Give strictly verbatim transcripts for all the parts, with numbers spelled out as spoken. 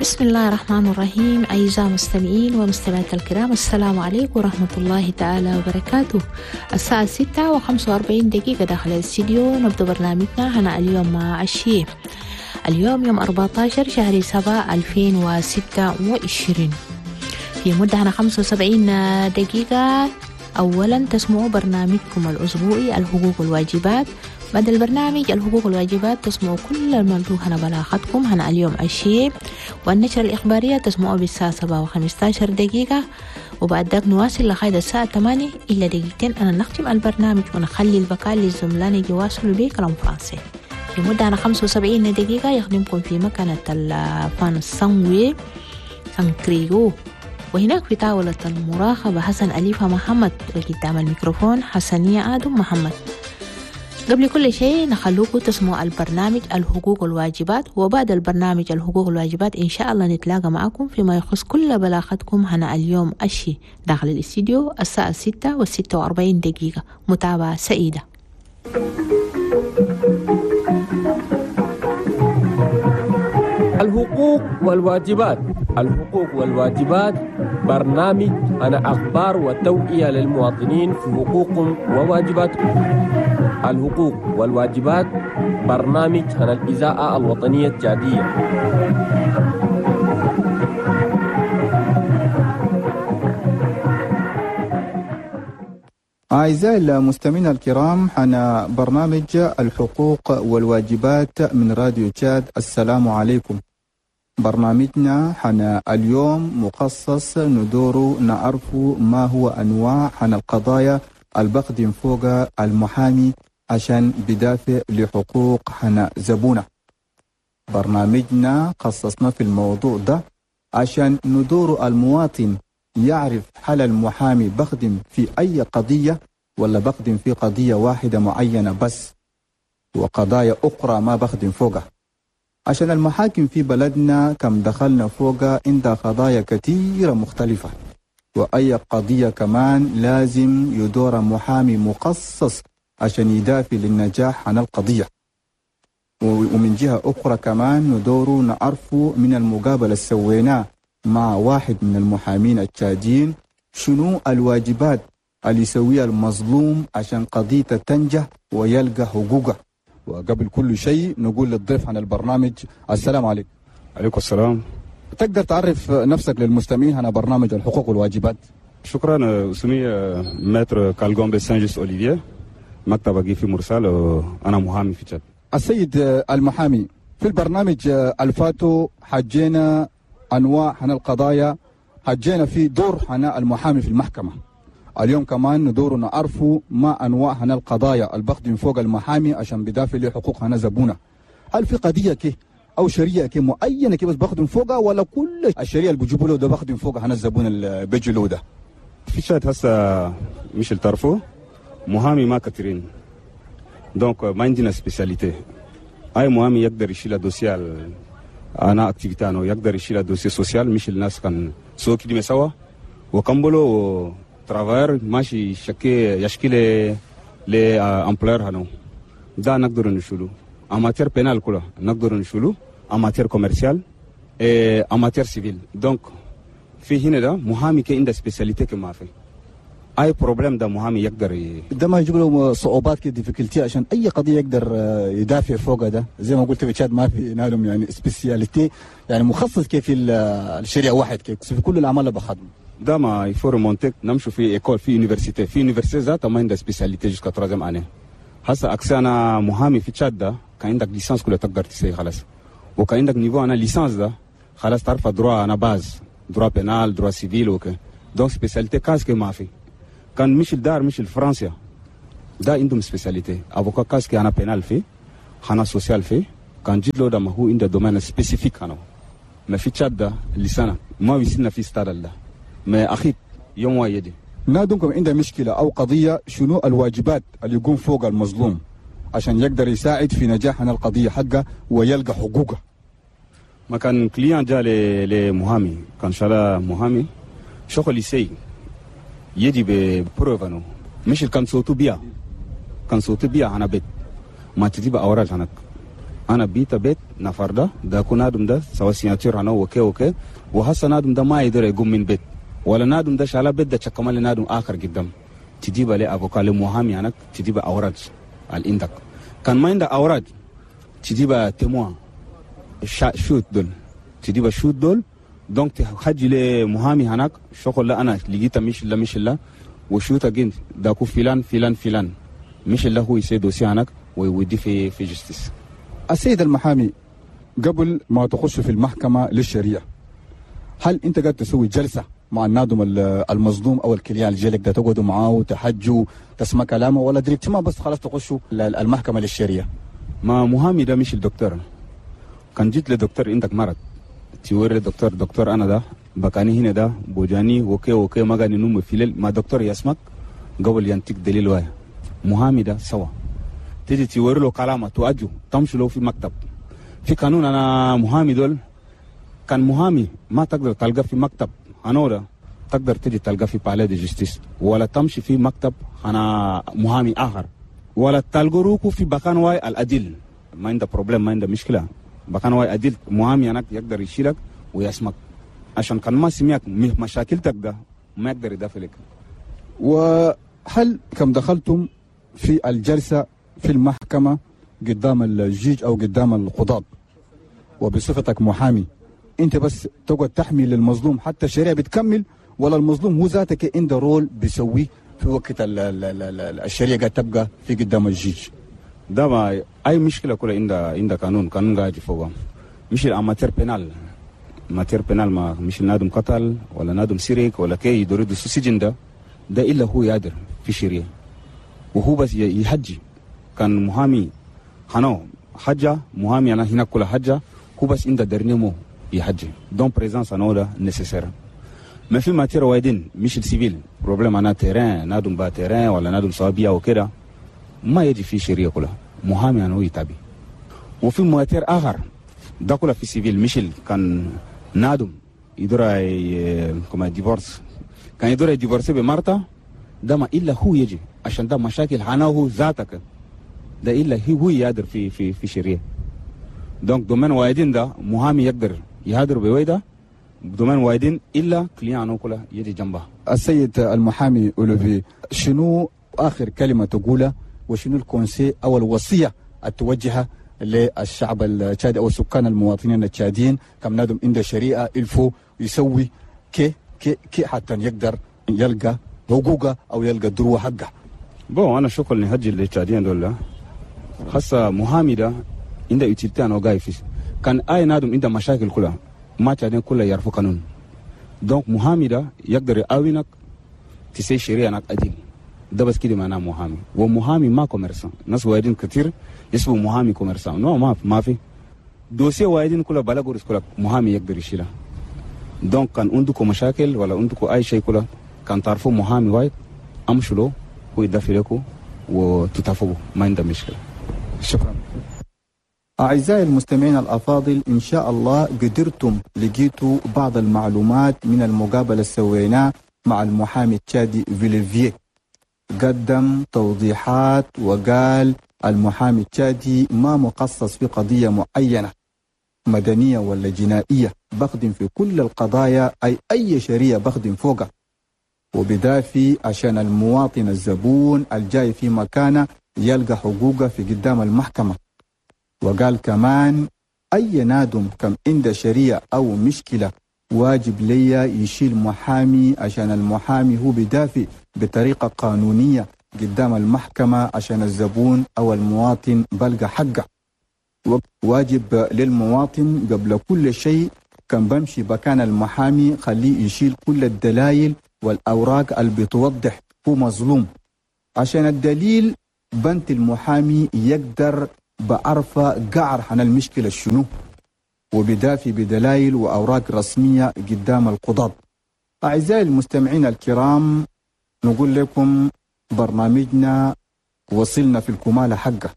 بسم الله الرحمن الرحيم. أعزائي المستمعين ومستمعات الكرام، السلام عليكم ورحمة الله تعالى وبركاته. الساعة ستة وخمسة وأربعين دقيقة داخل الاستديو نبدأ برنامجنا هنا اليوم مع الشيء. اليوم يوم أربعة عشر شهر سبعة ألفين وستة وعشرين، في مدة هنا خمسة وسبعين دقيقة. أولا تسمعوا برنامجكم الأسبوعي الحقوق والواجبات. بعد البرنامج الحقوق والواجبات تسمعوا كل الموضوع هنا بلاغتكم هنا اليوم الشيء، والنشرة الإخبارية تسمعوا بالساعة سبعة وخمسة عشر دقيقة، وبعد ذاك نواصل لغاية الساعة ثمانية إلا دقيقتين. أنا نختم البرنامج ونخلي البقاء للزملاء يواصلوا بيه كلام فرنسي في مدة هنا خمسة وسبعين دقيقة. يخدمكم في مكانة الفان الصنوي سانكريو، وهناك في طاولة المراقبة حسن أليفة محمد، وقدام الميكروفون حسنية آدم محمد. قبل كل شيء نخلوكم تسمعوا البرنامج الحقوق والواجبات، وبعد البرنامج الحقوق والواجبات إن شاء الله نتلاقى معكم فيما يخص كل بلاغتكم هنا اليوم أشي داخل الاستديو الساعة ستة وستة وأربعين دقيقة. متابعة سعيدة. الحقوق والواجبات. الحقوق والواجبات برنامج أنا أخبار وتوعية للمواطنين في حقوقهم وواجباتهم. الحقوق والواجبات برنامج عن الإذاعة الوطنية التشادية. أعزائي المستمعين الكرام، حنا برنامج الحقوق والواجبات من راديو تشاد. السلام عليكم. برنامجنا حنا اليوم مخصص ندور نعرف ما هو أنواع حنا القضايا البقدم فوق المحامي عشان بدافع لحقوق حنا زبونة. برنامجنا خصصنا في الموضوع ده عشان ندور المواطن يعرف هل المحامي بخدم في أي قضية ولا بخدم في قضية واحدة معينة بس وقضايا أخرى ما بخدم فوقها. عشان المحاكم في بلدنا كم دخلنا فوقها عندها قضايا كثيرة مختلفة، وأي قضية كمان لازم يدور محامي مخصص عشان يدافع للنجاح عن القضية. ومن جهة أخرى كمان ندور نعرف من المقابلة اللي سويناه مع واحد من المحامين التشاديين شنو الواجبات اللي يسويها المظلوم عشان قضيته تنجح ويلقى حقوقه. وقبل كل شيء نقول للضيف عن البرنامج السلام عليكم. عليكم السلام. تقدر تعرف نفسك للمستمعين هنا برنامج الحقوق والواجبات؟ شكرا. اسمي maître كالغومبي سانجيس اوليفييه، مكتبي في مرسال، انا محامي في تشاد. السيد المحامي، في البرنامج الفاتو حجينا انواع هنا القضايا، حجينا في دور هنا المحامي في المحكمه. اليوم كمان ندور نعرفوا ما انواع هنا القضايا البقدم فوق المحامي عشان بدافع لحقوق هنا زبونه. هل في قضيه كي او شريعه كي معينه كي بس بخدم فوقها، ولا كل الشريعه اللي بيجيبوا له ده بخدم فوقها هنا الزبون اللي بيجي له ده؟ في تشاد هسه مش التعرفوا محامي ما كثيرين، donc ما عندنا spécialité. اي محامي يقدر يشيل dossier انا activité انا يقدر يشيل dossier social، مش الناس كان سو كده سوا وكمبلو travailleur ماشي شكي يشكي ل ل employeur هنو ده نقدر نشيله. en matière pénale كله نقدر نشيله، en matière commerciale et en matière civile. donc في هنا ده محامي كي عنده spécialité كما في اي problème ده محامي يقدر ي... ده ما يجيب له صعوبات كده difficulté عشان اي قضيه يقدر يدافع فوقها. ده زي ما قلت في تشاد ما في نالهم يعني spécialité، يعني مخصص كيف الشريعه واحد كيف في كل الاعمال اللي بخدمه ده ما il faut remonter نمشوا في école في université في université ذاتها ما عندها spécialité jusqu'à troisième année. هسه accès انا محامي في تشاد ده كان عندك licence كلها تقدر تسوي خلاص، وكان عندك niveau انا licence ده خلاص تعرف droit انا base droit pénal droit civil وكي donc spécialité كاسك ما في. كان مش الدار مش الفرنسيا ده عندهم spécialité avocat كاسك انا pénal في انا social في كان جيت له ده ما هو عنده domaine spécifique انا ما في تشاد ده لسنه ما وصلنا في ستاد ده ما اخي يوم واحد. نادمكم عنده مشكله او قضيه، شنو الواجبات اللي يقوم فوق المظلوم عشان يقدر يساعد في نجاح القضيه حقه ويلقى حقوقه؟ ما كان client جا لمحامي كان شالا محامي شغل يسي يجي ب preuve انه مش كان صوته بيا كان صوته بيا انا بيت ما تجيب اوراق هناك انا بيتا بيت نفر ده ده كون نادم ده سوا signature انا وكي وكي وهسه نادم ده ما يقدر يقوم من بيت ولا نادم ده شالا بيت ده كمان نادم اخر قدام تجيب لي avocat لمحامي هناك تجيب اوراق عندك كان ما عندك اوراق تجيب témoin شهود دول تجيب شهود دول donc تحجي لي محامي هناك شغل لا انا لقيتها مش لا مش لا وشوتا جنت داكو فلان فلان فلان مش اللي هو يسي dossier هناك ويودي في في justice. السيد المحامي، قبل ما تخش في المحكمة للشريعة، هل انت قاعد تسوي جلسة مع النادم المظلوم او ال client الجالك ده، تقعدوا معاه وتحجوا تسمع كلامه، ولا directement بس خلاص تخشوا المحكمة للشريعة؟ ما محامي ده مش الدكتور. كان جيت لدكتور عندك مرض توري الدكتور، دكتور انا ده بكاني هنا ده بوجاني وكي وكي ما قاعد نوم في الليل، ما دكتور يسمك قبل ينتك دليل واحد. محامي ده سوا تيجي توري له كلامه تواجه تمشي له في مكتب. في قانون انا محامي دول كان محامي ما تقدر تلقى في مكتب هنورا، تقدر تجي تلقى في palais de justice، ولا تمشي في مكتب انا محامي اخر، ولا تلقى روكو في بكان واي العديل. ما عنده problème، ما عنده مشكله، بكان واي عديل محامي هناك يقدر يشيلك ويسمك، عشان كان ما سمعك مشاكلتك ده ما يقدر يدافع لك. وهل كم دخلتم في الجلسة في المحكمة قدام ال juge أو قدام القضاة وبصفتك محامي، انت بس تقعد تحمي للمظلوم حتى الشريعة بتكمل، ولا المظلوم هو ذاتك عنده rôle بيسويه في وقت ال ال ال الشريعة قاعد تبقى في قدام ال juge؟ ده ما اي مشكلة كلها عند عند قانون، قانون قاعد فوق. مش ال en matière pénale، matière pénale ما مش نادم قتل ولا نادم سرق ولا كي يدور السجن ده ده الا هو يقدر في شريعة وهو بس يحجي. كان محامي هنا حجة محامي انا هنا كل حجة هو بس عند dernier mot يحجي، donc présence انا ده nécessaire. ما في matière وايدين مش ال civil problème انا terrain نادم با terrain ولا نادم صابيه وكده ما يجي في شريعة كلها محامي انا يتابع. وفي matière اخر ده كله في civil مش كان نادم يدور كما divorce، كان يدور divorcer بمرتا ده ما الا هو يجي، عشان ده مشاكل هنا هو ذاتك ده الا هو يقدر في في في شريعة. donc domaine وايدين ده محامي يقدر يهدر بويدا، domaine وايدين الا client كلها يجي جنبه. السيد المحامي اولوفي، شنو اخر كلمة تقولها وشنو ال conseil او الوصية التوجهه للشعب التشادي او السكان المواطنين التشاديين كم نادم عند شريعة il faut يسوي كي كي كي حتى يقدر يلقى حقوقه او يلقى droit حقه؟ bon انا شغل نهجي للتشاديين دول خاصة محامي ده عنده utilité انا جاي في كان اي نادم عنده مشاكل كلها ما تشادين كلها يعرفوا قانون، donc محامي ده يقدر يعاونك تسي شريعة هناك عديل. ده بس كده معناه محامي. ومحامي ما commerçant، ناس وايدين كتير يسموا محامي commerçant، non ما ما في dossier وايدين كلها بلا كلها محامي يقدر يشيلها. donc كان عندكم مشاكل ولا عندكم اي شيء كلها كان تعرفوا محامي وايد امشوا له هو يدافع لكم وتتفقوا، ما عنده مشكلة. شكرا. أعزائي المستمعين الأفاضل، إن شاء الله قدرتم لقيتوا بعض المعلومات من المقابلة اللي سويناها مع المحامي التشادي فيليفيه. قدم توضيحات وقال المحامي التشادي ما مخصص في قضية معينة مدنية ولا جنائية، بخدم في كل القضايا، أي أي شريعة بخدم فوقها، وبدافي عشان المواطن الزبون الجاي في مكانه يلقى حقوقه في قدام المحكمة. وقال كمان أي نادم كم عنده شريعة أو مشكلة واجب ليا يشيل محامي، عشان المحامي هو بدافع بطريقة قانونية قدام المحكمة عشان الزبون أو المواطن بلقى حقه. واجب للمواطن قبل كل شيء كان بمشي بكان المحامي خليه يشيل كل الدلائل والأوراق اللي بتوضح هو مظلوم، عشان الدليل بنت المحامي يقدر بعرفة قعر عن المشكلة شنو، وبدافي بدلائل وأوراق رسمية قدام القضاة. أعزائي المستمعين الكرام، نقول لكم برنامجنا وصلنا في الكمالة حقه.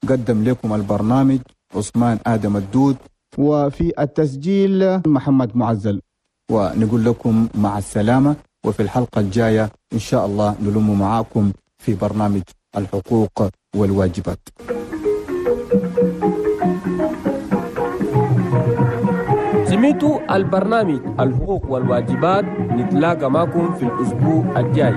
قدم لكم البرنامج عثمان آدم الدود، وفي التسجيل محمد معزل، ونقول لكم مع السلامة، وفي الحلقة الجاية إن شاء الله نلم معاكم في برنامج الحقوق والواجبات. سمعتوا البرنامج الحقوق والواجبات. نتلاقى معكم في الأسبوع الجاي.